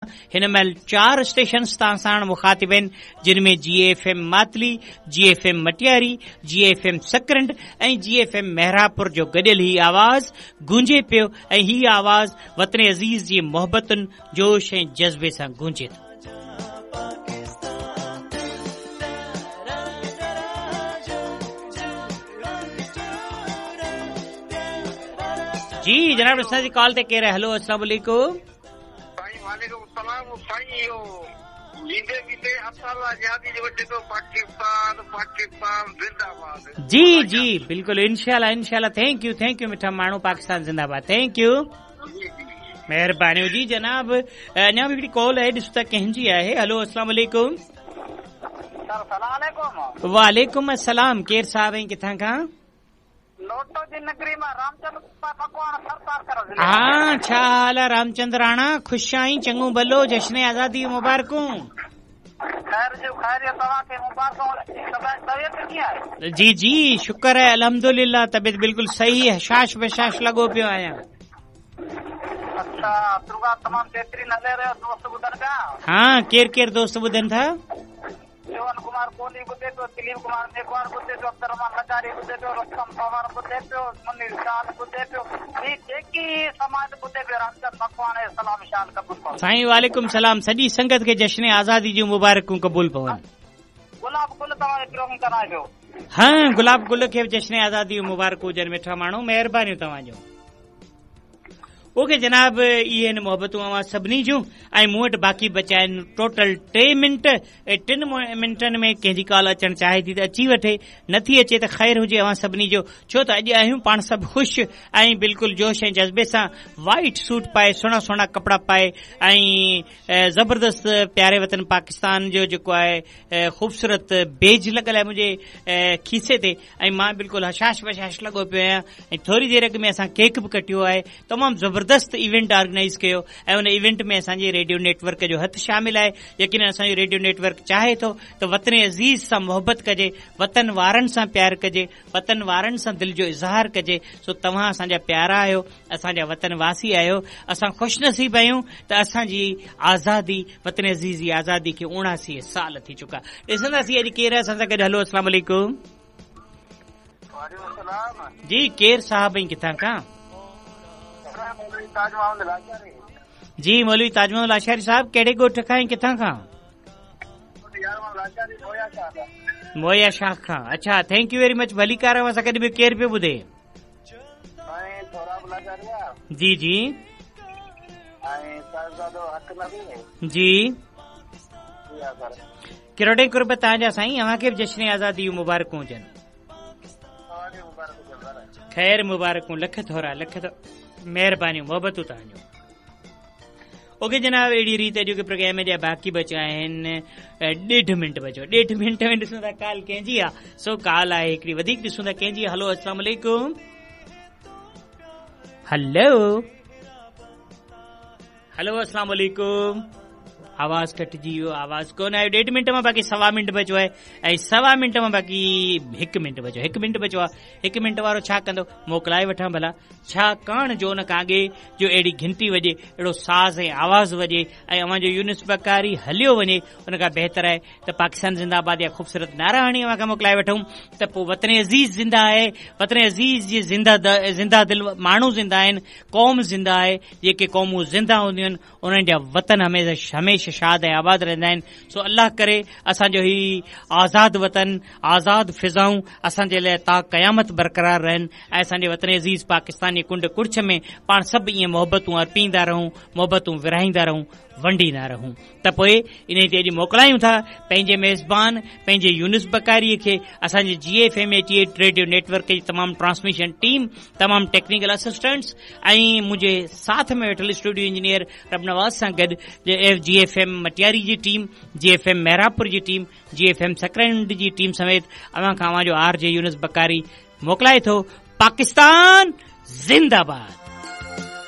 هن مهل چار اسٽيشنز تان ساڻ مخاطب آهن جن ۾ جي F M Matli, G F M Matiari, G F M Sakrand ۽ G F M Mehrabpur جو گڏيل هي آواز گونجي پيو ۽ هي آواز وطن عزيز جي محبتن، جوش ۽ جذبي سان گونجي ٿو. جي جناب اسان جي ڪال تي ڪير آهي هلو السلام عليڪم. سائين وعليڪم السلام سائين اهو ويندي ويندي عطا الله نيازي جو وچي ٿو پاڪستان پاڪستان زنده باد. جي جي بلڪل انشاء الله انشاء الله thank you thank you مٺا ماڻهو پاڪستان زنده باد thank you مهرباني جي جناب اڃا به هڪڙي ڪال آهي ڏسو ته ڪنهن جي آهي هلو السلام عليڪم. سر سلام عليڪم. وعليڪم السلام ڪير صاحب ۽ ڪٿان کان؟ نوٽو جي نگري مان رامچند مڪواڻ ٿرپارڪر ضلعي ها ڇا حال آ رامچند راڻا خوش آهين چڱو ڀلو جشن آزادي جون مبارڪون. خير جون خيريت توهان کي مبارڪون طبيعت ڪيئن آهي. جي جي شڪر آهي الحمدلله طبيعت بلڪل صحيح هشاش بشاش لڳو پيو آهيان. اڇا پروگرام تمام بهترين هلي رهيو دوست ٻڌن پيا. ها ڪير ڪير دوست ٻڌن ٿا. جيون ڪمار ڪولهي ٻڌي پيو، دليپ ڪمار ميگهواڙ ٻڌي پيو، عبدالرحمان لغاري ٻڌي پيو، رستم پنهور ٻڌي پيو، منير شال ٻڌي پيو، هي جيڪي سماج ٻڌي پيو رامچند مڪواڻي سلام شال قبول پون. سائين وعليڪم سلام سڄي سنگت کي جشن آزادي جون مبارڪون قبول پون. گلاب گل توهان جو پروگرام ڪرائي پيو. ها گلاب گل کي به جشن آزادي جون مبارڪون هجن مٺا ماڻهو مهربانيون توهان جون. اوڪي جناب اهي آهن محبتون اوهان سڀني جون ۽ مون وٽ باقي بچيا آهن ٽوٽل ٽي منٽ ۽ ٽن منٽن ۾ ڪنهن جي ڪال اچڻ چاهي ٿي ته اچي وٺي نٿي اچي ته خير هجي اوهان سڀني جو ڇو ته اڄ آهيون پاڻ سڀ خوش ۽ بلڪل جوش ۽ جذبي سان وائيٽ سوٽ پائي سهڻا سهڻا ڪپڙا پائي ۽ زبردست پياري وطن پاڪستان جو جيڪو آهي خوبصورت بيج لڳل آهي منهنجي کيسي تي ۽ مان بلڪل هشاش بشاش لڳو پيو آهيان ۽ ٿوري دير اڳ ۾ اسان ڪيڪ به ڪٽيو آهي تمام زبردست ايونٽ آرگنائيز ڪيو ۽ ان ايونٽ ۾ اسان جي ريڊيو نيٽ ورڪ جو هٿ شامل آهي يقينن اسان جو ريڊيو نيٽ ورڪ چاهي ٿو ته وطن عزيز سان محبت ڪجي وطن وارن سان پيار ڪجي وطن وارن سان دل جو اظهار ڪجي سو توهان اسان جا پيارا آهيو اسان جا وطن واسي آهيو اسان خوش نصيب آهيون ته اسان جي آزادي وطن عزيز جي آزادي کي 79 سال ٿي چڪا ڏسنداسين اڄ ڪير آهي اسان سان گڏ هلو السلام عليڪم وعليڪم السلام جي ڪير صاحب ۽ ڪٿان کان مولوي تاج محمد لاشاري جي مولوي تاج محمد لاشاري صاحب ڪهڙي ڳوٺ کان ۽ ڪٿان کان مويا شاخ کان اڇا thank you very much ڀليڪار اوهان سان گڏ ٻيو ڪير پيو ٻڌي جي جي جي ڪروڙين قرب توهان جا سائين اوهان کي به جشن آزادي جون مبارڪون هجن خير مبارڪون لک ٿورا لک مهربانيون محبتون توهان جون اوڪي جناب اهڙي ريت اڄوڪي پروگرام جا باقي بچيا آهن ڏيڍ منٽ بچيو ڏيڍ منٽ ۾ ڏسون ٿا ڪال ڪنهن جي آ سو ڪال آهي هڪڙي وڌيڪ ڏسون ٿا ڪنهن جي هلو السلام عليڪم هلو هلو السلام عليڪم آواز ڪٽجي ويو آواز ڪونه آيو ڏيڍ منٽ مان باقي سوا منٽ بچيو آهي ۽ سوا منٽ مان باقي هڪ منٽ بچيو هڪ منٽ بچيو آهي هڪ منٽ وارو ڇا ڪندو موڪلائي وٺان ڀلا ڇاڪاڻ جو ان کان اڳي جو اهڙي گهنٽي وڄي، اهڙو ساز ۽ آواز وڄي ۽ اوهان جو يونس بڪاري هليو وڃي، ان کان بهتر آهي ته پاڪستان زنده آباد جا خوبصورت نعرا هڻي اوهان کان موڪلائي وٺون ته پوء وطن عزيز زنده آهي، وطن عزيز جي زنده زنده دل ماڻهو زنده آهن، قوم زنده آهي، جيڪي قومون زنده هونديون آهن، انهن جا وطن هميشه هميشه شاد ۽ آباد رهندا آهن سو الله ڪري اسان جو هي آزاد وطن آزاد فضائون اسان جي لاء تا قيامت برقرار رهن ۽ اسان جي وطن عزيز پاڪستان جي ڪنڊ ڪڙڇ ۾ پاڻ سڀ ائين محبتون ارپيندا رهون محبتون ورهائيندا رهون ونڊيندا رهون ته پوء انهي تي اڄ موڪلايون ٿا پنهنجي ميزبان پنهنجي يونس بڪاري کي اسان جي جي F M eighty eight radio net work جي تمام ٽرانسميشن ٽيم تمام ٽيڪنيڪل اسسٽنٽس ۽ منهنجي ساٿ ۾ ويٺل اسٽوڊيو انجنيئر ربنواز سان گڏ جي ايف ايم مٽياري جي ٽيم جي ايف ايم محرابپور جي ٽيم جي ايف ايم سڪرنڊ جي ٽيم سميت اوهان کان اوهان جو آر جي يونس بڪاري موڪلائي ٿو پاڪستان زنده باد.